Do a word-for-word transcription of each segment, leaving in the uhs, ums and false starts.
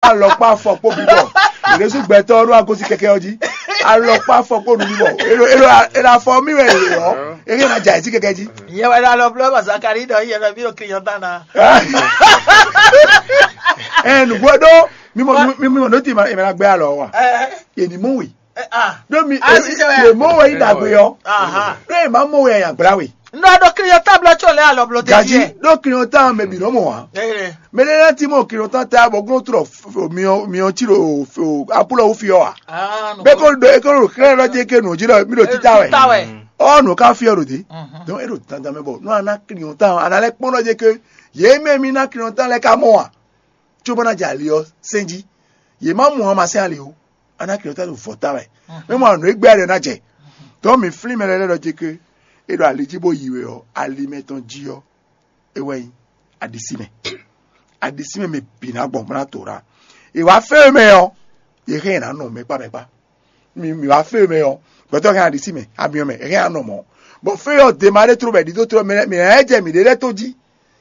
Alɔkpa afɔ kpo bibɔ. Ɖésú gbɛtɔ ɖo agosi kɛkɛ ɔ jí. Alɔkpa afɔ kpo nu bibɔ. Elo elo elo afɔ mi wɛ elo ɔ. Eke na dza esi kɛkɛ jí. Yɛ wɛ ɖo alɔ blɔ ma Zakari ɖɔ yɛ ɖɔ mi ɖo client na. Ɛ nugbo ɖo mi mɔ mi mɔ noti ma ema gbɛ alɔ wa. Yɛ ni mɔ wi. Ɖo mi yɛ mɔ wɛ yi dagbe yɔ. Ɖo ema mɔ wɛ ya gbla wi. Nɔ ɖo client ta blɔ tso lɛ alɔ blɔ de. Gaji ɖo client ta mɛ bi nɔ mɔ wa. Mɛ ɖe lɛ ti mɔ client ta ta bɔ glo trɔ miɔ miɔ ti ɖo apulɔ wo fi ɔ wa. Bɛ ko ɖo e ko ɖo xlɛ lɔ je ke nɔ ji lɔ mi ɖo tita wɛ. Ɔ nɔ ka fi ɔ ɖo de. Donc e ɖo dandan mɛ bɔ nɔ ana client ta ana lɛ kpɔn lɔ je ke yɛ mɛ mi na client ta lɛ ka mɔ wa. Tso bɔ na jɛ ali ɔ sɛn ji. Yɛ ma mɔ wa ma sɛn ali o. Ana client ta ɖo vɔ ta wɛ. Mɛ mɔ anɔ egbe ali ɔ na jɛ. Donc mi flin mɛ lɛ lɛ lɔ je ke e ɖo ali ji bo yi wɛ ɔ ali mɛ tɔn ji ɔ. E wɛ nyi aɖisímɛ. Aɖisímɛ mɛ bǐ ná gbɔn bó ná to ɖa. È wá fɛ mɛ ɔ́, è hɛn ná nɔ mɛ kpá mɛ kpá. Mi mi wá fɛ mɛ ɔ́, gbɛtɔ́ hɛn aɖisímɛ, amiɔ mɛ, è hɛn ná nɔ mɔ̌. Bɔ fɛ ɔ́, dema ɖé tló bɔ è ɖi dó tló mɛ mɛ ɛ jɛ mǐ ɖé lɛ́ɛ tó jí.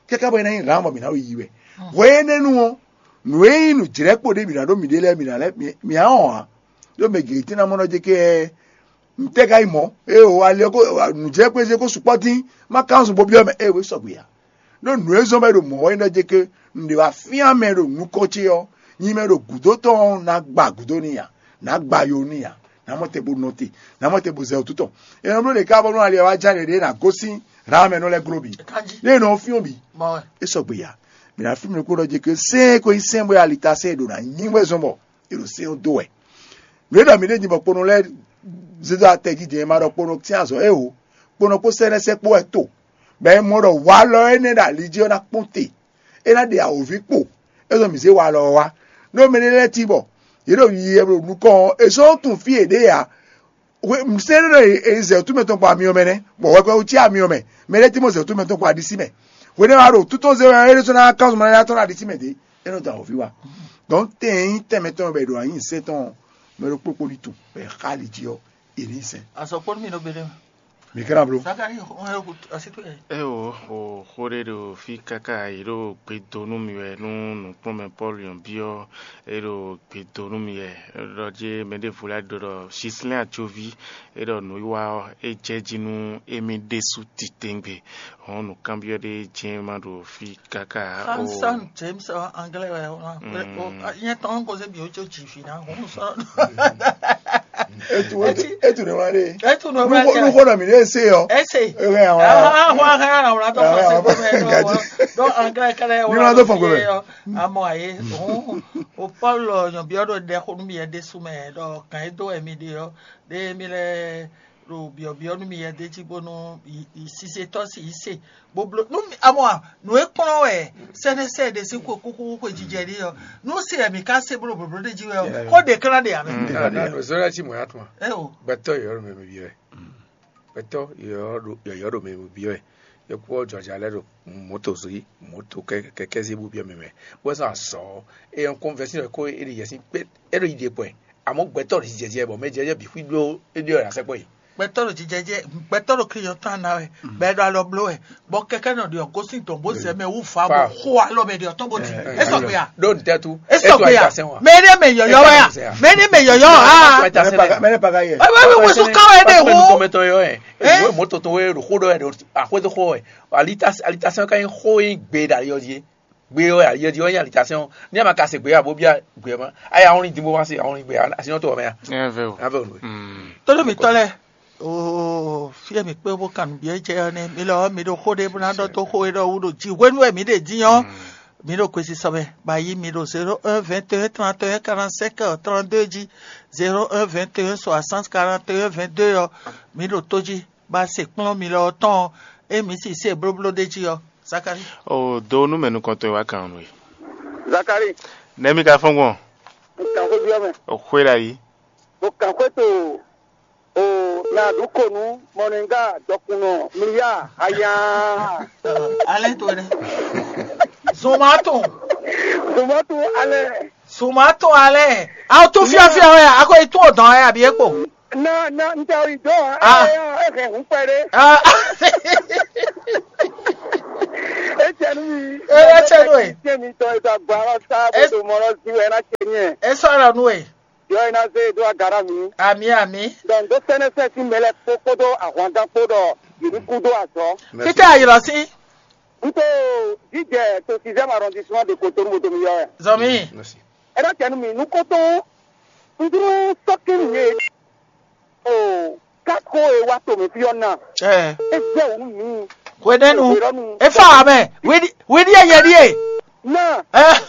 Kɛ́ká bɔ é ná nyí hǎn bɔ mǐ ná yi wɛ. Hwɛ énɛ́ nu ɔ́, nǔ e nyí nǔjlɛ́kpo ɖé mǐ ná ɖó mǐɖée lɛ́ɛ mǐ ná lɛ́ mǐ á wɔn ǎ. Ɖó mɛ gěgé tɛ́ ná mɔ nɔ jɛ kɛ ntɛ́ ka nyí mɔ̌? Ée o ali ɔ́ ko nǔjlɛ́kpézé ko sukpɔ́ dín má ka nɔ zun bo byɔ́ mɛ ée wě sɔgbe ǎ. Ɖó nǔ e zɔ́n bɔ é ɖo mɔ̌ wɛ é nɔ jɛ ké un ɖe wá fyán mɛ ɖo nukɔn ce ɔ́, nyi mɛ ɖo gǔdo tɔn ɔ́ ná gba gǔdo n'i ǎ, ná gba yo n'i ǎ, ná mɔ te bo nɔ te, ná mɔ te bo zɛ wǔtu tɔn. É nɔ bló ɖě ká bónú ali ɔ́ wá já ɖě ɖě ná gosín Raham ɛnɔ lɛ́ɛ gló bǐ. Lě e nɔ ɔ́ fyɔ́n bǐ. É sɔgbe ya. Mǐ ná flín mì ɖokpó ɖɔ jɛ ké sɛ́n e ko nyí sɛ́n bɔ é ali ta sɛ́n e ɖo ná nyí wɛ zɔn bɔ è ɖo sɛ́n ɔ́ dó wɛ. Nǔ e ɖɔ mǐ ɖe din bɔ kponɔ lɛ́ɛ zé dó atɛjijɛ e ma ɖɔ kponɔ sín azɔ̌ é o, kponɔ kpó sɛ́nɛ́sɛ́ kpó wɛ to, bɔ è mɔ ɖɔ walɔ énɛ́ ɖo ali jí ɔ́ ná kpɔ́n te, é ná ɖe awǒvi kpo, é zɔn mǐ zé walɔ ɔ́ wá. Nú mɛ ɖé lɛ́ɛ cí bɔ yě ɖo yiyi wɛ ɖo nukɔn ɔ́, è sɔ́ tunwun fí yě ɖe ǎ. Sɛ́nɛ́ ɖɔ è zɛ wǔtu mɛtɔn kpó amyɔ mɛ nɛ́, bɔ hwɛkpɛ́wú cí amyɔ mɛ, mɛ ɖé cí mɔ zɛ wǔtu mɛtɔn kpó aɖisí mɛ. Hwenɛ́ wá ɖo tútɔn zé wɛ é ɖésú ná kán zɔn mɛ ná tɔ́n aɖisí mɛ dě, é nɔ da wǒvi wá. Dɔn tɛn e nyí tɛnmɛ tɔn bɔ è ɖo anyǐ sɛ́n tɔn mɛ ɖokpó kpó ní tunwun bɔ è xa ali jí ɔ́, è ní sɛn. Azɔkpɔ́nú mi nɔ gbe ɖe mɛ. Mi kɛ́ ná bló. Sakari, on est au, à cette heure. Eo o xó ɖé ɖo fí káká yě ɖo gbe dó nú mi wɛ nú nǔkplɔ́nmɛ Pɔ́lu nyɔ̌ byɔ́ é ɖo gbe dó nú mi wɛ ɖɔ jé mɛ ɖěvo lɛ́ɛ ɖɔ ɖɔ Sislɛ́n ajoví é ɖɔ nǔwiwa ɔ́ é jɛ jí nú émí ɖésú titewungbe. Hɔn nǔkanbyɔ́ ɖé jɛ́n ma ɖo fí káká o. Hanson James ɔ anglais wɛ o. Nyɛ tɔn ko se bi o tso dzi fi na hɔn sɔ. Etu etu ne wa ɖe. Etu ne wa ɖe. Nuxɔ nɔ mi ɖe se yɔ. Ese. Ehe awon. Ahɔn ahɔn ahɔn ahɔn atɔ fɔ se gbɔmɛ ɖɔ. Ɖɔ anglais kɛlɛ wɔ. Ni ma ɖo fɔ gbɔmɛ. Amɔ aye. O Paul nyɔbiɔ ɖo ɖe xo nu mi yɛ ɖe su mɛ ɖɔ kan e do wɛ mi ɖe yɔ ɖe mi lɛ ɖo biɔbiɔ nu mi yɛ ɖe jí bónú sisetɔ si yi se boblo nu amɔ a nu e kplɔn wɛ sɛnɛsɛ ɖe si ko kuku ko jijɛ ɖi yɔ nu se yɛ mi ka se blo boblo ɖe jí wɛ o ko ɖe kla ɖe ame. Nanu zɔlɛ ti mɔ ya tuma. Eo. Gbɛtɔ yɔyɔ ɖo mɛ mi bi wɛ. Gbɛtɔ yɔyɔ ɖo mɛ mi bi wɛ. Yɔkpɔ jɔja lɛ ɖo moto zui moto kɛkɛ zi bu bi mɛ mɛ. Wɛ sɔ azɔ. E yɔn kɔnvɛsi ko e ɖi yɛsi kpe e ɖo yi ɖe pɔɛ. Àmọ́ gbɛtɔ́ ɖo jijɛ jɛ bɔ mɛ jɛ jɛ bǐ xwí ɖó é ɖe ɔ́ ɖo asɛkpɔ yi. Gbɛtɔ́ ɖo jijɛ jɛ gbɛtɔ́ ɖo kí yɔn tán ná wɛ bɔ ɛ ɖo alɔ bló wɛ bɔ kɛkɛ nɔ ɖi ɔgɔsín dɔn bó zɛ mɛ wú fa bó xó alɔ mɛ ɖi ɔtɔn bó ti é sɔgbe ya. Ɖó ntɛ tu é sɔgbe ya. Mɛ ní mɛ yɔyɔ wɛ ya mɛ ní mɛ yɔyɔ ha. Mɛ ní paga yɛ. Ɛwɛ wɛ wɛ sún káwé ɖe hó. Kɔmɛtɔ yɔ ɛ. Ìwé mọ́tò tó wɛ ɖo xó ɖɔ ɛ ɖo àxwé tó xó ɛ. Alitasɛn ka nyí xó yín gbe ɖo ayɔ jí. Gbe ɔ́, yɛdi ɔ́ nyí alitasɛn ɔ́. Ní a ma ka se gbe ɔ́, a bó bia gbe ɔ́ ma. A ya wlin din bó ma se, a wlin gbe ɔ́, a si nyɔ́ to ɔ́ mɛ a? Ɛ vɛ o. A vɛ o nue. Tɔ́ ɖo mǐtɔn lɛ́ɛ, oo, fí e mǐ kpé bó kan nǔ byɔ́ jɛ ɔ́ nɛ́, mi lɔ ɔ́, mi ɖo xó ɖé bó ná ɖɔ dó xó e ɖɔ wú ɖo jǐ hwenu e mǐ ɖe dín ɔ́. Mǐ ɖo kwesisɔ mɛ, bɔ a yí mi ɖo zéro un vingt et un trente et un quarante-cinq trente-deux jí, zéro un vingt et un soixante quarante et un vingt-deux ɔ́, mǐ ɖo tó jí. Ba se kplɔ́n mi lɔ ɔ́ tɔn ɔ́, ée mi si se blóbló ɖ'é jí ɔ́, Zakalíi. O do nú mɛ nukɔntɔn e wá kan nú we. Zakalíi. Nɛ̌ mi ka fɔ́n gbɔn? Un kan xwé byɔ́ mɛ. O xwé ɖo ayǐ. Bo kan xwé to o na ɖu ko nú mɔnɛngá dɔkunnɔ mliya aya. Alɛ to ɖe. Zomatu. Zomatu alɛ. Zomatu alɛ. Aw to fiafia wɛ, a ko yi tún o dɔn wɛ abi e kpo. Na na n tɛ o yi dɔn. Ah. Ɛ ɛ ɛ hɛn hun pɛ ɖe. Ah. Ecɛnu mi. Ee, ecɛnu e. Tiɛ mi tɔ eta gba lɔ sa bó to mɔ lɔ si wɛ na tiɛ nyɛ. Esɔ lɔ nu e. Yɔ ina se do agara mi. Ami ami. Donc do sɛnɛ sɛ si mɛ lɛ kpo kpo do ahwangan kpo dɔ yini ku do azɔ. Títí ayirɔ sí. N to jijɛ to sixième arrondissement de Cotonou mo to mi yɔ ɛ. Zɔmi. Ɛ na tiɛ nu mi nu kɔtɔn. N dúró sɔkí mi ye. O, kako e wá to mi fí ɔ́ ná. Ɛ. E jẹ́ òun mi. Hwenɛnu. Hwenɛnu. Efa amɛ. Widi widi eyɛ die. Na. Ɛ.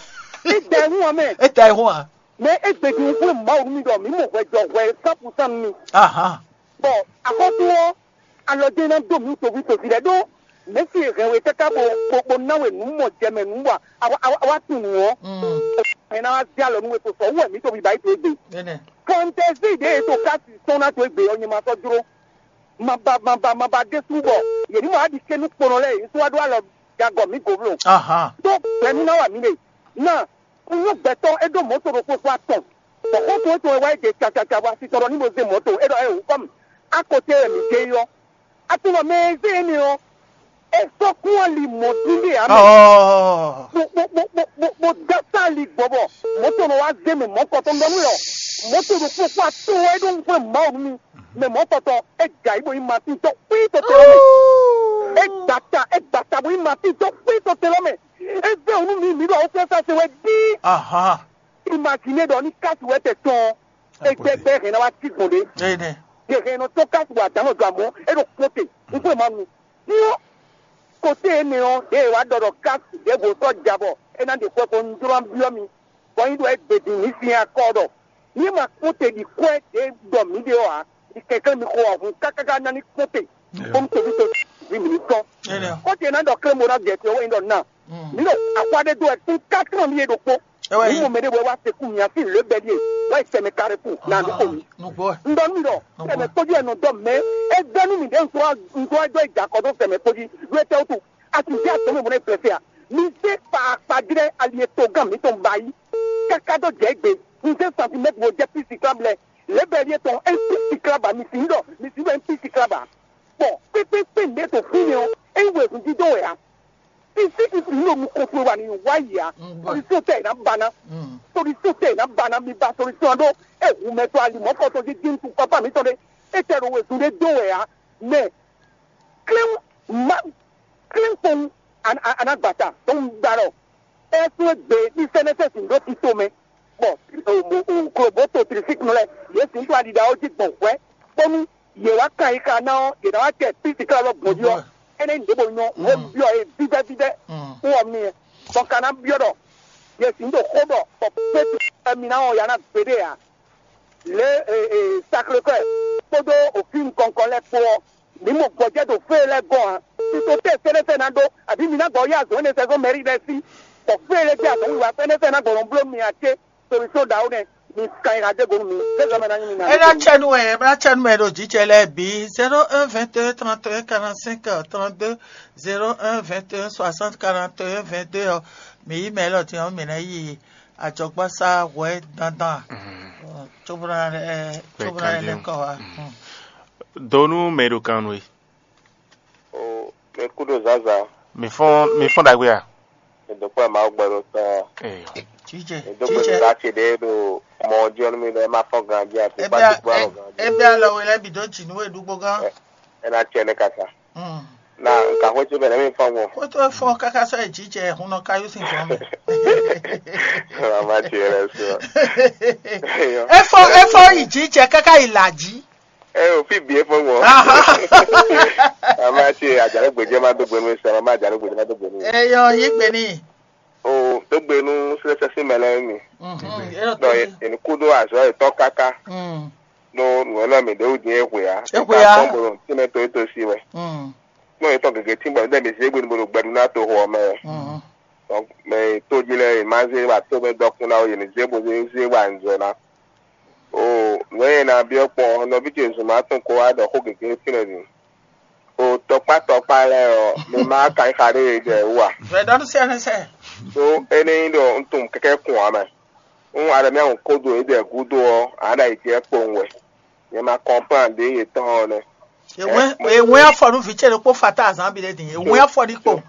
E da ehun amɛ. E da ehun a. Mɛ e gbedi ŋkú ma wú mi ɖɔ mi mɔ hwɛ jɔ hwɛ cent pour cent mi. Ahan. Bɔn axɔ́sú ɔ́, alɔ dé ná dó mi toví toví lɛ ɖó. Mɛ̌si e hɛn we káká bo bo bo ná we nǔ mɔ jɛ mɛ nǔ wa awa awa awa tunwun ɔ́. Mm. Hɛn ná wá zé alɔ nú we kpo sɔ wú wɛ mǐ to biba yi to égbé. Énɛ́. Fantɛzi ɖě e to kási sɔ́n ná to égbé ɔ́, nyɛ ma sɔ́ jló. Maba maba maba ɖésú bɔ yě ní mɔ wá ɖi ké nú kponɔ lɛ́ɛ yě ní sɔ́ wá ɖó alɔ jagɔ mǐ gǒbló. Ahan. Tó gbɛ̌ nú ná wa mǐ ɖe. Ná un nyɔ́ gbɛtɔ́ é ɖó mɔ̌to ɖokpó xwá tɔn. Bɔ xɔ́ntɔn étɔn e wá yi ɖe cacaca bɔ asi tɔn ɖɔ ní bo zé mɔ̌to é ɖɔ é wǔ kɔ́ mì. Akɔte wɛ mǐ dé yi ɔ́. Atunɔ mɛ e zé énɛ́ ɔ́, é sɔ́ kún ali mɔ̌ dín ɖe ǎ mɛ. Ɔɔ. Bó bó bó bó bó bó dó asá ali gbɔ bɔ mɔ̌to nɔ wá zé mɛ mɔ̌kɔtɔn ɖɔ nú lɛ ɔ́. Mɔ̌to ɖokpó kpó atɔ́ɔ́n wɛ é ɖó nukúnmɛ Mawu nú mì. Mɛ mɔ̌kɔtɔn é jɛ ayǐ bó nyí Matín tɔn xwí tɔn te ɔ́ mɛ. É gba ta é gba ta bó nyí Matín tɔn xwí tɔn te ɔ́ mɛ. É vɛ́ wǔ nú mǐ mǐ ɖo awufiása se wɛ dín. Ahan. Imagine ɖɔ ní kási wɛ tɛ tɔn ɔ́, é gbɛgbɛ hɛn ná wá sí gbɔn ɖé. Énɛ́. Yě hɛn nɔ tɔn kási wɛ adǎn nɔ dɔn amɔ̌ é ɖo kpɔ́n te. Un xwé ma nu. Ní ɔ́, kote énɛ́ ɔ́, ɖěe wá ɖɔ ɖɔ kási ɖěvo sɔ́ ja bɔ é ná ɖe xwɛ ko un jló ná byɔ́ mi. Bɔ nyi ɖɔ é gbe din mǐ sin akɔ ɖɔ ní ma kpɔ́n te ɖi kwɛ́ ɖě ɖɔ mǐ ɖe ɔ́ ǎ, ní kɛnklɛ́n mi xo ahun kákáká ná ní kpɔ́n te, bónú toví to ví mǐ ní tɔ́n. Kɔ́ ce ná ɖɔ klé mo ná jɛ te ɔ́ wɛ nyí ɖɔ na. Mǐ ɖo axwá ɖé dó wɛ tún kátlan mì é ɖokpó. Mǐ mɔ mɛ ɖé bɔ é wá se kú mǐ así lě bɛ́ ɖíe, wá yi sɛmɛ ka ɖé kú, nǎ ɖó xo mǐ. Un ɖɔ nú mì ɖɔ sɛmɛ kpójú wɛ nɔ dɔ mɛ. É gbɛ́ nú mǐ ɖě un dó wá dó yi jɛ akɔ dó sɛmɛ kpójí ɖó étɛ́ wútu? A sì jẹ́ àtɔ́mɛ mɔ̌ nɛ́ blɛ́ fɛ a? Mi zé kpaakpa jlɛ́ ali e togán mǐtɔn ba yí, káká dó jɛ égbé. Un zé santimɛ́tri wo jɛ písi klá blɛ́. Lě bɛ́ ɖíe tɔn é písi klá ba, mi sǐ ɖɔ mi sǐ ɖɔ é písi klá ba. Bɔ kpékpékpé nǔɖé to fínɛ́ ɔ́, é nyí wezun dídó wɛ ǎ. Fífí fífí ní ɖo nukɔn towe wa ní wá yi ǎ. Solution tɛ è nǎ ba ná. Solution tɛ è nǎ ba ná, mi ba solution ɖó. É hu mɛ tɔn ali mɔ̌kɔtɔn jí dín tu pápá mǐtɔn ɖé. É tɛ ɖo wezun ɖé dó wɛ ǎ. Mɛ klɛ́n ma klɛ́n kpɔn anágbata tó ń gba ɖɔ é sún égbé ní sɛnɛsɛsi ɖó tito mɛ. Bɔ kloboto trisiknu lɛ yě sǐn tó aɖiɖa ɔ́ jí gbɔn hwɛ̌ bónú yě wá kan yi xa ná ɔ́, yě ná wá kɛ písi klá lɔ gbɔn jí ɔ́, énɛ́ nyí ɖěbǔ nyɔ́ wǒ byɔ́ yě vívɛ́ vívɛ́ wú ɔ́ n'i. Bɔ ka ná byɔ́ ɖɔ yě sǐn ɖo xó ɖɔ bɔ pétu mi ná wɔn ya ná gbeɖé ǎ. Lě e Sacré-Cœur kpódó òfin nukɔn nukɔn lɛ́ɛ kpó ɔ́, mǐ mɔ gbɔjɛ́ ɖo fée lɛ́ɛ gɔ́n ǎ. Tito tɛ́ sɛ́nɛ́sɛ́ ná ɖó, abǐ mi ná gbɔ yí azɔ̌ énɛ́ sɛ́ zɔ́n mɛ̌rí lɛ́ɛ sí, bɔ fée lɛ́ɛ gbé azɔ̌ wiwa sɛ́nɛ́sɛ́ ná gbɔ nɔ bló mi ǎ cé? Solution ɖaxó nɛ́, mi kan nyi ha dó go nú mi, zé zɔ́ mɛ ná nyí mi ná. É ná cɛ nú wɛ, é ná cɛ nú mɛ ɖo jǐ cɛ lɛ́ɛ bǐ. Zéro un vingt et un trente et un quarante-cinq trente-deux, zéro un vingt et un soixante quarante et un vingt-deux ɔ́, mǐ yí mɛ élɔ́ din ɔ́, mǐ ná yi ajɔgbásá hwɛ dandan. Cóbó ná lɛ́ cóbó ná lɛ́ kɔ wá. Do nú mɛ e ɖo kan nú we. O, mi kú ɖo zǎnzǎn. Mi fɔ́n mi fɔ́n ɖagbe a? Mi dó kpɔ́ Mawu gbɛ ɖo tɔn. Ee. Jijɛ, Dó gbe jijɛ. Nǔɖá ce ɖé ɖo mɔ ɔ́ jí ɔ́ nú mi ɖɔ é má fɔ́n ganjí ati Ebe kpá a- ti kpó alɔ e- ganjí. Ebe alɔ we lɛ́ bǐ dó jǐ nú we ɖu gbɔngán. Ɛ ɛ ná cɛ nɛ kasa. Mm. Na nka xwé ce bɛ nɛ mi fɔ́n gbɔn. Kótó fɔ káká sɔ yi jijɛ hun nɔ káyú sin fɔn mɛ. Mama ce lɛ sɔ. Efɔ efɔ yi jijɛ káká yi làjí. Ɛ o fi bie fɔ́n gbɔn. Aha. Mama ce àjálù gbèjẹ́ má dó gbénu sọ, mama àjálù gbèjẹ́ má dó gbénu. Eyɔ yi gbeni. O tó gbénu sɛsɛ sí mɛ lɛ mi. Mhm. Eyɔ Dɔ tó. Eni kú ɖó azɔ etɔn káká. Mm. Ɖó nǔ ɛnɛ mi ɖe wú din e hwe ya. E hwe ya. Kɔn bolo tí mɛ to eto si wɛ. Mm. Kpɔn etɔn gege tí bɔ ɖe mi zé gbénu bolo gbɛɖu ná to xɔ mɛ. Mm. Donc mɛ to jí lɛ ma zé wa to mɛ dɔkun na o yeni zé bo zé zé wa nzɔ na. O nɔ ye na biɔ kpɔn nɔvi ce zuma tun ko wa ɖɔ xó gege fi lɛ din. O tɔkpa tɔkpa lɛ ɔ mi ma ka xa ɖe ye jɛ wa. Vɛ dɔn sɛ ne sɛ. So ene yi ɖɔ n tun kɛkɛ kun amɛ. N ale mi ahun kodo ye jɛ gudo ɔ ana yi jɛ kpowun wɛ. Nyɛ ma kɔnplan ɖe ye tɔn ɔ nɛ. Ewé ewé afɔ nu vitsɛ ɖokpó fata azan bi ɖe din ewé afɔ ɖi kpo.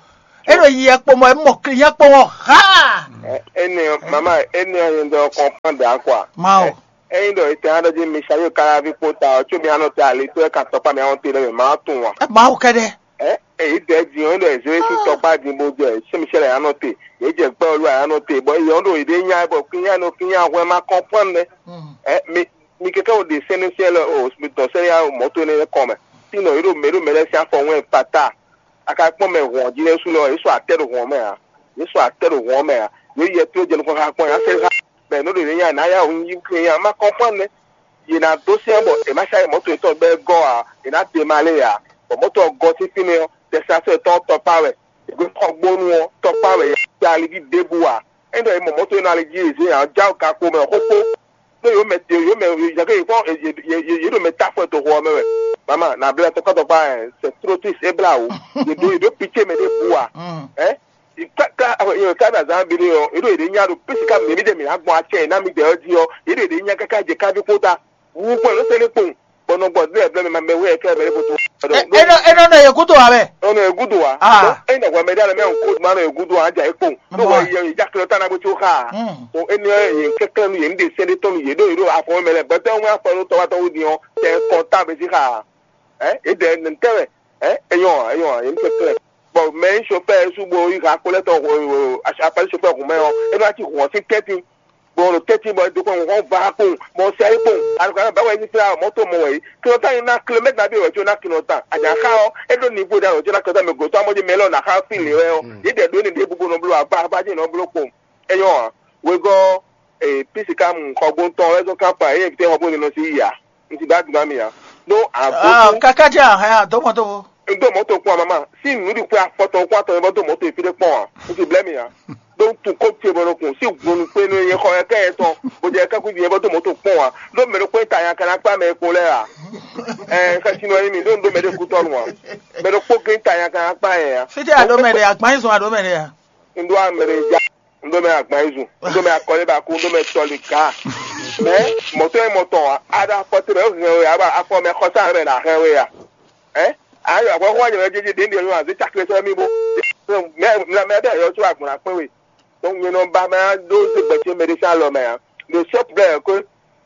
É ɖo yiyi kpɔmɔ, é mɔ kli nya kpɔmɔ ha. Ene mama, ene ɔ́ nyɛ ɖɔ kɔnpɔn ɖa kɔa. Mawu. Eyin ɖɔ ete aɖɔ jí mi sa yóò kára ví kpó ta ɔ́, tso mi anɔ te ali tó ɛ ka tɔkpa mi anɔ te ɖe mɛ ma tún wa. Mawu kɛɖɛ. Ɛ èyí dɛ din ɔ́ ɖɔ èzó yéṣu tɔkpa din bó jɛ sɛmísɛlɛ anɔ te, yě jɛ gbɛ olú anɔ te bɔ yɔ ɖo yě ɖe nya bɔ kínya nɔ kínya hwɛ ma kɔnpɔn nɛ. Ɛ mi mi kɛkɛ wo ɖe sɛnɛ sɛlɛ o mi dɔn sɛnɛ ya mɔto nɛ kɔn mɛ. Sinɔ yě ɖo mɛ ɖo mɛ lɛ sín afɔ wɛn pata. A ka kpɔn mɛ hɔn jí lɛ́ɛ su lɔ yě su atɛ ɖo hɔn mɛ ǎ. Yě su atɛ ɖo hɔn mɛ ǎ. Yě yɛ tó jɛ nukɔn xá kpɔn yě asɛ xá. Bɛ nǔ ɖě nɛ nya nǎ ya wu yí kle nya má kɔn kpɔn nɛ. Yě ná dó sɛn bɔ è má sa yi mɔto yětɔn bɛ́ gɔ́ ǎ, è nǎ de ma lé ǎ. Bɔ mɔto ɔ́ gɔ́ sín fínɛ́ ɔ́, tɛsán sɔ́ yětɔn ɔ́ tɔkpá wɛ. È gbé xɔ gbónú ɔ́, tɔkpá wɛ yě ali jí ɖěbǔ ǎ. É ɖɔ è mɔ mɔto e nɔ ali jí yě zé ǎ, já ɔ ka ko mɛ xóxó. Ɖó yǒ mɛ yǒ mɛ yě ɖo mɛ ta fɔ to xo ɔ́ mɛ wɛ. Mama na blɛ tɔkpɔtɔkpɔ ɛ c'est trop triste é blá wò. Yě ɖo yě ɖo pitié mɛ ɖé bu wa. Ɛ ká ká ká bɛ azán bi ɖé ɔ yě ɖo yě ɖe nya ɖo pisi ká mɛ mi ɖe mi agbɔn atsɛ yě ná mi dɛ ɔ jí ɔ yě ɖo yě ɖe nya káká jɛ káví kpó ta. Wu kpɔ yě ɖo sɛnɛ kpɔn bɔnɔ gbɔ ɖe ɛblɛ mi ma mɛ wɛ kɛ bɛ ko to. Eno eno ne yegudo wa bɛ. Ɔnɔ egudo wa. Ah. Ena wɛ mɛ ɖe alɛ mɛ ŋkó ma nɔ egudo wa dza ekpɔn. Ɖo wɛ yɛ yɛ jakle ta na bó tso xa. O eni yɛ kɛkɛ nu yɛ nu de sɛn de tɔnu yɛ ɖo yɛ ɖo afɔ mɛ lɛ bɛtɛ ŋu afɔ ɖo tɔwatɔ wu diɔ tɛ kɔnta bɛ si xa. Ɛ edɛ nɛtɛ wɛ. Ɛ enyɔ enyɔ yɛ nu kɛkɛ. Bɔn mɛ sofɛ su bo yi ha kpɔlɛ tɔ apali sofɛ hun mɛ ɔ enu ati hun ɔsi tɛti. Bɔn ɖo tɛti bɔ do kɔn wɔn va kpɔn bɔn sɛ yi kpɔn alukana ba wɛ yi fila mɔto mɔ wɛ yi kí ɔta yi na kilomɛta bi wɛ tso na kí ɔta anya xa ɔ eɖo nivo da wɛ tso na kí ɔta mɛ gotɔ amɔdzi mɛ lɔ na xa fi le wɛ ɔ yi dɛ do ne ɖe bubu nɔ blo agba agba dzi nɔ blo kpɔn. Enyɔ a wegɔ ee pisika mu xɔgbɔntɔn wɛ zɔn kampa eye vite xɔgbɔn ne nɔ si yi ya nti ba duma mi ya. No abo. Kaka dzi ahɛ a dɔmɔ dɔmɔ. N ɖo mɔto kpɔn mama si nu ɖi kpɛ afɔtɔn kpɔn atɔn yɛ bɔ do mɔto efi ɖe kpɔn a n ti blɛ mi ya. Ɖó tun kó ce bɔ ɖo kun sí gbonu kpé nú yɛ xɔ yɛ kɛ yɛ tɔn bó jɛ kɛkú din yɛ bɔ dó mɔto kpɔn wa ɖó mɛ ɖokpó ta nya kana kpá mɛ kpó lɛ a. Ɛɛ xɛsinɔ yɛ mi ɖó ŋɖó mɛ ɖé kú tɔnu wa mɛ ɖokpó gé ta nya kana kpá yɛ ya. Fítɛ àɖó mɛ ɖe àgbáyé zɔn àɖó mɛ ɖe ya. Ŋɖó amɛ ɖe ja ŋɖó mɛ àgbáyé zun ŋɖó mɛ akɔlé ba kú ŋɖó mɛ tɔli gá. Mɛ mɔtɔ yɛ mɔtɔn wa aɖa afɔ tɛ mɛ hɛn we aba afɔ mɛ xɔsa mɛ na hɛn we ya. Ɛ ayɔ agbɔxɔ wa nyɛ jɛjɛ ɖe ɖe yɔ azɛ tsakle sɔ mi bo mɛ mɛ bɛ yɔ tso agbɔn akpɛ we. Donc nyɛ nɔ ba mɛ ɖo se gbɛtɛ mɛ ɖe sa lɔ mɛ a ɖo sɔp blɛ ko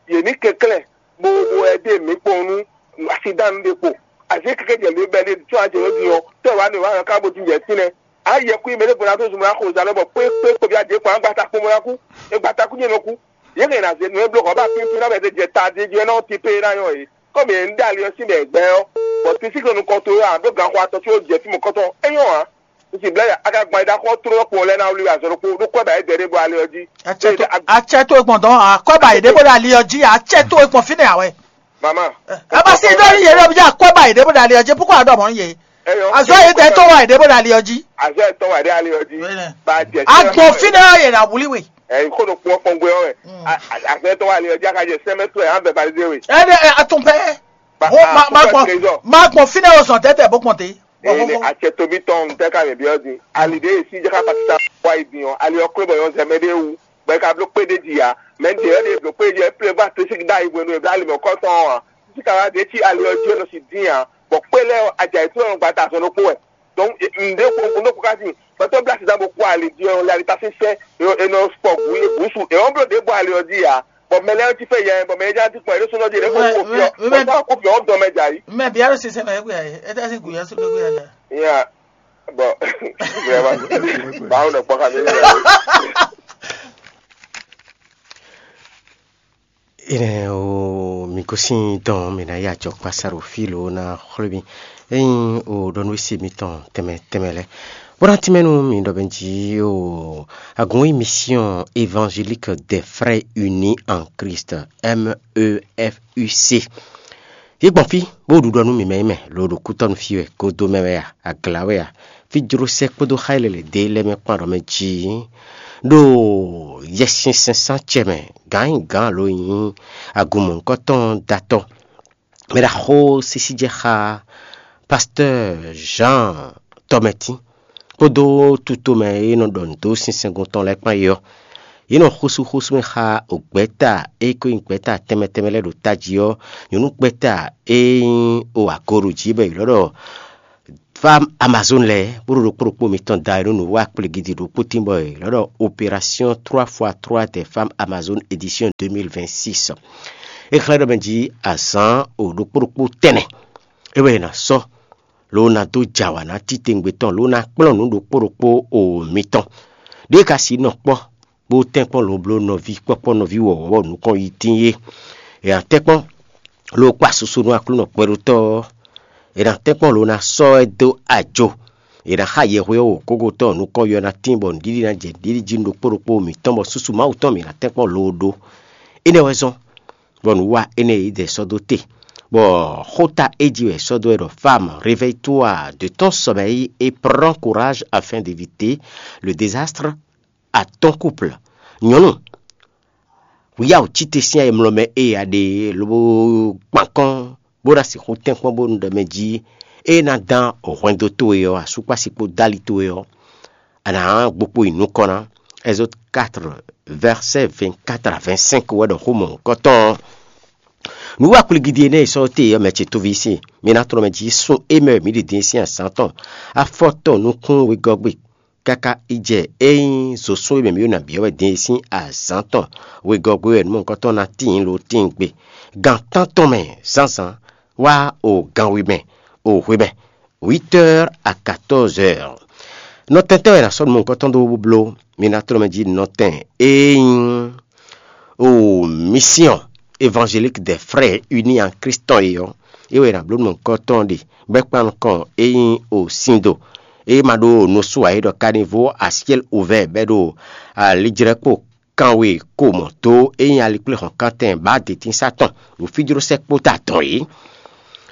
yɛ mi kɛklɛ bo bo ɛdɛ mi kpɔn nu accident ɖe kpo azɛ kɛkɛ jɛ mi bɛ ɖe tso ajɛ yɔ di yɔ tɔ wa ne wa ka bo ti jɛ sinɛ ayɛ kui mɛ ɖe bo na to zumɔ na xo zalɔ bɔ kpe kpe kpe bi adze kpɔn agbata kpɔn bo na ku egbata ku nyɛ nɔ ku yɛ kɛ na zɛ nu eblo kɔ ba pinpin na bɛ se jɛ ta di jɛ na ti pe na yɔ ye. Kɔmi yɛ ń dá ali ɔ́ sín bɛ gbɛ ɔ́, bɔ Kristi kò nukɔn towe ǎ ɖó ganxɔ atɔn tí ó jɛ fí mɔ̌kɔtɔn é nyɔ́ ǎ. Un sì blɛ́ a ka gban yi ɖó axɔ́ tlólɔ́ kpowun lɛ́ɛ ná wlí wɛ azɔn ɖokpó ɖó kwɛ́ ba é dɛ ɖěvo ali ɔ́ jí. Acɛ tó e gbɔn dɔn a kwɛ́ ba yě ɖé bó ɖo ali ɔ́ jí acɛ tó e gbɔn fínɛ́ ǎ wɛ. Mama, ɛ bá sí ɖó ní yě ɖɔ bí a kwɛ́ ba yě ɖé bó ɖo ali ɔ́ jí púpọ̀ àdó ọmọ yín yé. Azɔ yě tɛ tó wà yě ɖé bó ɖo ali ɔ́ jí. Azɔ yɛ tɔn wà ɖé ali ɔ́ jí. Ba jɛ agbɔn fínɛ́ ɔ́ yě ɖo wuli we. Ɛ kó ɖo kpɔ́ kpɔ́n gbé ɔ́ wɛ. Azɔ yɛ tɔn wà ali ɔ́ jí a ka jɛ sɛmɛ tó ɛ an bɛ balide we. Ɛ ɖe ɛ atún pɛ. Má gbɔn fínɛ́ o sɔn tɛtɛ bó kpɔn te. Ene atsɛ tobi tɔn tɛ ka mi biɔ di ali de esi jaka patita wa yi di ɔ ali ɔ klo bɔ yɔ zɛmɛ de wu bɛ ka blo kpe de di ya mɛ de yɔ de blo kpe de yɔ eple ba tesi da yi bwenu ebla ali mɛ kɔtɔn wa titi ka wa de ti ali ɔ di ɔ nɔ si di ya bɔ kpe lɛ ɔ adza yi to ɔ gbata azɔn ɖokpo wɛ donc nde ko nde ko ka si pɛtɛ bla sisan bo kó ali di ɔ lɛ ali ta si sɛ e nɔ fɔ gu ye gusu e ɔ blo de bɔ ali ɔ di ya. Bɔ mɛ lɛ́ɛ jí fɛ yɛ bɔ mɛ yɛ já dín kpɔ́n yě ɖésúnɔ jí yě kó kó fiɔ bɔ tá kó fiɔ ɔ́ dɔn mɛ jà yí. Mɛ bia ɖo sinsɛn mɛ egbe ayi, eta si gu yɛ so ɖo gbe ayi. Ya bɔ vraiment báwo nɔ kpɔ́ xafi ní. Ine o mi gosín dɔn mi ná yí ajɔkpá sa ɖo fí lo ná xwlé mi. Ényí o ɖɔ nú isi mitɔn tɛnmɛ tɛnmɛ lɛ́ɛ. Bó ná tínmɛ nú mi ɖɔ bɛ́ jí o agun émission évangélique des frères unis en Christ, M E F U C. Yě gbɔn fí bó ɖu ɖɔ nú mǐmɛ́ mɛ lo ɖo kútɔ́nu fí wɛ, godo mɛ wɛ a, agla wɛ a, fí jló sɛ́ kpódó xá e lɛ́ lɛ̌ dó lɛ́ɛ mɛ kpán ɖɔ mɛ jí ɖo Yɛsinsɛn sán cɛ mɛ gǎn nyi gǎn alo nyí agun mɔ̌hunkɔtɔn datɔ. Mɛ ɖaxó sísí jɛ xá Pasteur Jean Tɔmɛtín kpódó tutomɛ e nɔ ɖɔ nǔ dó sinsɛngun tɔn lɛ́ɛ kpán é ɔ́, yě nɔ xósú xósú mɛ xá gbɛ̌ta e ko nyí gbɛ̌ta tɛnmɛ tɛnmɛ lɛ́ɛ ɖo tají ɔ́, nyɔ̌nu gbɛ̌ta e nyí o agoɖo jí bɔ è ylɔ́ ɖɔ Fam Amazon lɛ́ɛ bó ɖo ɖokpó ɖokpó mitɔn da wɛ nú nǔwiwa kpligidi ɖokpó tín bɔ è lɔ̌ ɖɔ opération trois fois trois des femmes Amazon édition deux mille vingt-six. É xlɛ́ ɖɔ mɛ jí azǎn o ɖokpó ɖokpó tɛnɛ é wɛ è nǎ sɔ́, ló ná dó jɛ awǎ ná titewungbe tɔn, ló ná kplɔ́n nǔ ɖokpó ɖokpó o mitɔn. Ɖěe ka sixú nɔ kpɔ́ bó tɛ́nkpɔ́n lobló nɔví kpɔ́kpɔ́ nɔví wɔ̌wɔ́ nukɔn yi tín é. È nǎ tɛ́nkpɔ́n ló kpa susu nú Aklúnɔ kpɛɖótɔ́ ɔ́. È nǎ tɛ́nkpɔ́n ló ná sɔ́ ɛ dó ajo. È nǎ xa yɛhweɔ́ wǒgógótɔ́ nukɔn yɔ ná tín bɔ nǔɖiɖi ná jɛ nǔɖiɖi jí nú ɖokpó ɖokpó mǐtɔn bɔ susu Mawu tɔn mǐ ná tɛ́nkpɔ́n loo ɖó. Énɛ́ wɛ zɔ́n bɔ nǔwa énɛ́ e yě dɛ sɔ́ dó te, bɔ xóta é jí wɛ è sɔ́ dó wɛ ɖɔ: Femme, réveille-toi de ton sommeil et prends courage afin d'éviter le désastre à ton couple. Nyɔ̌nu, wǔyáwǔ cíte sín ayemlɔ́mɛ e a ɖe é lobo kpan kɔ́n bó ná sixú tɛ́nkpɔ́n bónú ɖɔ mɛ jí é ná dán hwɛndo towe ɔ́, asúkpási kpó dali towe ɔ́, a nǎ gbo kpo yi nukɔn ná. Exode quatre, verset vingt-quatre à vingt-cinq wɛ ɖɔ xó mɔ̌hunkɔtɔn ɔ́. Nǔ wa kplígídí énɛ́ e sɔ́ te ɔ́, mɛ ce tóví sín, mi ná tlɔ́n mɛ jí sún é mɛ wɛ mǐ ɖe din sín azǎn tɔn, afɔ tɔn nukún wegɔ́gbe káká yi jɛ é nyí zǒsún e mɛ mǐ ɖo nǎ byɔ́ wɛ din é sín azǎn tɔn wegɔ́gbe wɛ nǔmɔ̌hunkɔtɔn ná tíin lo tíin gbe. Gan tántɔn mɛ zǎnzǎn wá o gan we mɛ o hwe mɛ, huit heures à quatorze heures. Nɔtɛntɔ́ wɛ è nǎ sɔ́ nǔmɔ̌hunkɔtɔn dó bó bló. Mi ná tlɔ́n mɛ jí nɔtɛn e nyí o Mission Évangélique des Frères Unis en Christ tɔn e ɔ́, é wɛ è nǎ bló nǔmɔ̌hunkɔtɔn ɖe, bɔ é kpan nukɔn e nyí o Sindo, e ma ɖó nusú ǎ é ɖɔ Caniveau à ciel ouvert bɔ é ɖo alijlɛ́kpo kanwe ko mɔ dó e nyí alikpléhɔ̌nkántɛn bǎ detínsá tɔn ɖo fíjlósɛ́kpo ta dɔn é.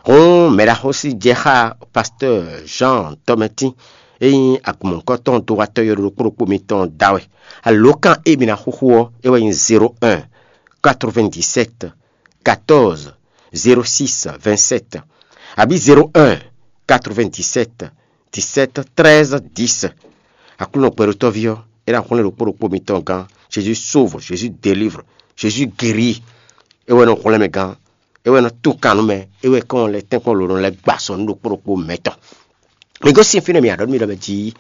Hǔn mɛɖaxósí jɛ xá Pasteur Jean Tɔmɛtín e nyí agunmɔ̌hunkɔtɔn dowatɔ́ yɔɖoɖokpó ɖokpó mitɔn da wɛ. Alǒkan e mi ná xúxú ɔ́, é wɛ nyí zéro un, quatre-vingt-dix-sept, quatorze, zéro six, vingt-sept, abǐ zéro un, quatre-vingt-dix-sept, dix-sept, treize, dix. Aklúnɔ gbɛɖótɔ́ví ɔ́, é ná hwlɛ́n ɖokpó ɖokpó mitɔn gán. Jésus sauve, Jésus délivre, Jésus guérit. É wɛ nɔ hwlɛ́n mɛ gán, é wɛ nɔ tún kan nú mɛ, é wɛ kɔn lɛ́ tɛ́nkpɔ́n lǒ nɔ lɛ́ gba sɔ nú ɖokpó ɖokpó mɛtɔn. Mi gosín fínɛ́ mi aɖɔ̌ nú mi ɖɔ mɛ jí,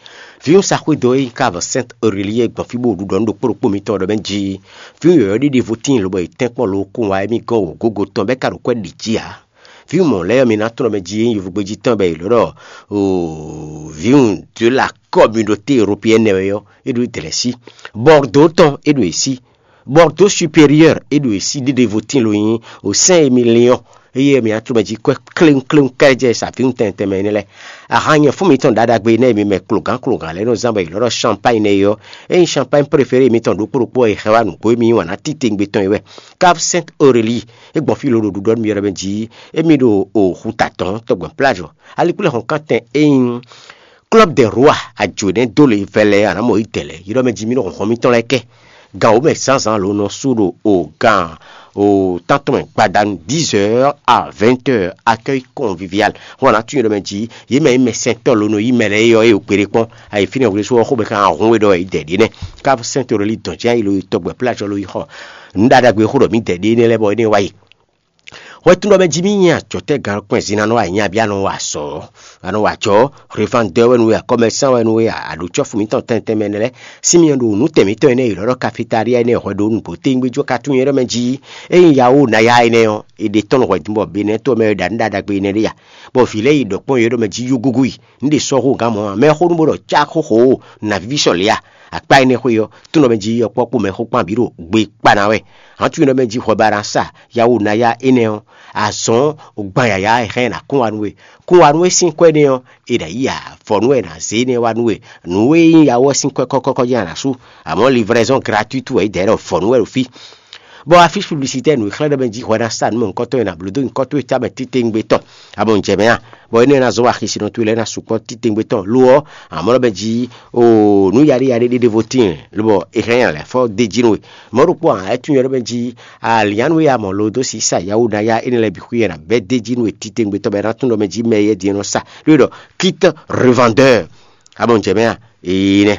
vǐwunsa xwedó e nyí káva Sainte Aurélie gbɔn fí bó ɖuɖɔ nú ɖokpó ɖokpó mitɔn ɖɔ mɛ jí, vǐwun yɔ̌yɔ́ ɖé ɖěvo tíin lobɔ è tɛ́nkpɔ́n lǒ kún wá émí gɔ́n wǒgógó tɔn bɔ é ka ɖo kwɛ́ ɖi jí ǎ. Vǐwun mɔ̌ lɛ́ɛ ɔ́, mi ná tlɔ́n mɛ jí e nyí yovógbéjí tɔn bɔ è lǒ ɖɔ vǐwun de la communauté européenne wɛ ɔ́, é ɖo Dɛ̌lɛ̌sí. Bordeaux tɔn é ɖo è sí. Bordeaux supérieur é ɖo è sí ɖéɖévo tín lo nyí o Saint Émilion. Eye mi ná tlɔ́n mɛ jí kwɛ́ kléwúnkléwún kɛ́ɖɛ́ jɛ sa vǐwun tɛntɛn mɛ énɛ́ lɛ́ɛ. Ahan nyɛ̌fú mitɔn ɖaɖagbe énɛ́ e mi mɛ klogǎn klogǎn lɛ́ɛ nɔ zán bɔ è lɔ́ ɖɔ champagne nɛ́ é ɔ́, é nyí champagne préféré mitɔn ɖokpó ɖokpó e è hɛn wá nǔgbó e mi yí wǎn ná titewungbe tɔn é wɛ. Cave Sainte Aurélie, é gbɔn fí lǒ ɖo ɖuɖɔ nú mi ɔ́ ɖɔ mɛ jí, émí ɖo o xuta tɔn tɔgbɛn plage ɔ́. Alikpléhɔ̌nkántɛn e nyí Club des Rois, ajǒ nɛ́ dó lě vɛlɛ anǎ mɔ yi dɛ̌ lɛ́ɛ, yi ɖɔ mɛ jí mì nɔ hlɔ̌nhlɔ́n mitɔn lɛ́ɛ kɛ. Gan wǒ mɛ zǎnzǎn lǒ nɔ sú ɖo o gan o tántɔn mɛ gbadanu dix heures à vingt heures, accueil convivial. Hɔn ná tunwun yi ɖɔ mɛ jí, yě mɛ nyí mɛ sɛntɔ́ lǒ nɔ yí mɛ lɛ́ɛ é ɔ́, é o kpeɖé kpɔ́n. Ayi fínɛ́ hwlé sú ɔ́, xó mɛ kan hun we ɖɔ yi dɛ̌ ɖé nɛ́. Ká sɛntɔ́ lí dɔn jɛ́n yi lo yi tɔgbɛ plájɔ lo yi xɔ nǔ ɖaɖagbe xó ɖɔ mǐ dɛ̌ ɖé nɛ́ lɛ́ɛ bɔ é nɛ́ wá yi. Hwɛtun ɖɔ mɛ jí mì nyi ajɔ̌tɛ́ galɔkpɛ́n zin ná nɔ wa nyabí anɔ wa azɔ̌, anɔ wa ajɔ̌, hweván dɔ́ wɛ nú we, akɔ́mɛsán wɛ nú we, aɖǒcɔ́fu mǐtɔn tɛntɛn mɛ nɛ́ lɛ́ɛ, Simeɔn ɖo nǔtɛn mǐtɔn énɛ́ e è nɔ ɖɔ kafetália énɛ́ hwɛ ɖó nǔgbó téwúngbéjó ka tunwun é ɖɔ mɛ jí, ényí ya ó ná ya énɛ́ ɔ́, è ɖe tɔ́n nú hwɛ̌dun bɔ Benɛ́ to mɛ wɛ ɖa nǔ ɖaɖagbe énɛ́ ɖé a? Bɔ vǐ lɛ́ɛ yi ɖɔ kpɔ́n yě ɖɔ mɛ jí yó gúgú yi, nǔ ɖě sɔ́ hó gǎn mɔ̌ ǎ, mɛ xó nú bó ɖɔ cá xóxó ó, nǎ víví sɔ lě a? Akpá énɛ́ xwé ɔ́, tún ɖɔ mɛ jí yɔkpɔ́kpó mɛ xó kpán bǐ ɖo gbe kpa ná wɛ. Hǎn tunwun ɖɔ mɛ jí hwɛ ba ná sa yawu ná ya énɛ́ ɔ́, azɔ̌ gban yǎyá e hɛn ná kún wa nú we. Kún wa nú we sín kwɛ́ nɛ́ ɔ́, è nǎ yi avɔ nú wɛ è nǎ zé énɛ́ wá nú we. Nǔ e nyí yawɔ sín kwɛ́ kɔ́kɔ́kɔ́ jɛ́n a nǎ sú, amɔ̌ livraison gratuite wɛ é dɛ̌ ɖɔ vɔ nú wɛ ɖo fí. Bɔ afísi publicitaire nǔ e xlɛ́ ɖɔ mɛ jí hwɛ ná sa nǔ mɔ̌hunkɔtɔn e nǎ bló dó nyǐkɔ towe tamɛ titewungbe tɔn, a mɔ jɛ mɛ a? Bɔ énɛ́ ná zɔ́n axisínɔ towe lɛ́ɛ ná sukpɔ́ titewungbe tɔn lo ɔ́, amɔ̌ ɖɔ mɛ jí o nǔ yaɖé yaɖé ɖé ɖěvo tíin, lobɔ è hɛn nya lɛ̌ fɔ dó jí nú we. Mɔ̌ ɖokpó ǎ, é tunwun ɖɔ mɛ jí alǐannu e a mɔ lo dó sisa yawu ná ya énɛ́ lɛ́ɛ bǐ xwí e ná bɛ́ dó jí nú we titewungbe tɔn bɔ é ná tunwun ɖɔ mɛ jí mɛ e é din nɔ sa ɖó é ɖɔ quitte revendeur, a mɔ jɛ mɛ a? Ee nɛ.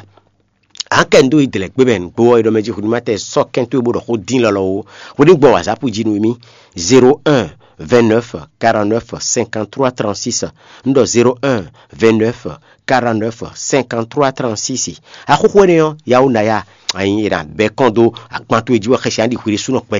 Akɛ ndo yi dlɛ gbe mɛ nugbo ɔ́, e ɖɔ mɛ jí xudimátɛ sɔ́ kɛn towe bó ɖɔ xó dín lɔlɔ ó. Xwedí gbɔn wazǎpu jí nú mì: zéro un, vingt-neuf quarante-neuf cinquante-trois trente-six. Un ɖɔ zéro un vingt-neuf quarante-neuf cinquante-trois trente-six. Axóxó énɛ́ ɔ́, Yawu Naya, anyi è nǎ bɛ́ kɔn dó agban towe jí wɛ xɛsi ǎ ɖi hwi ɖésúnɔ kpɛ.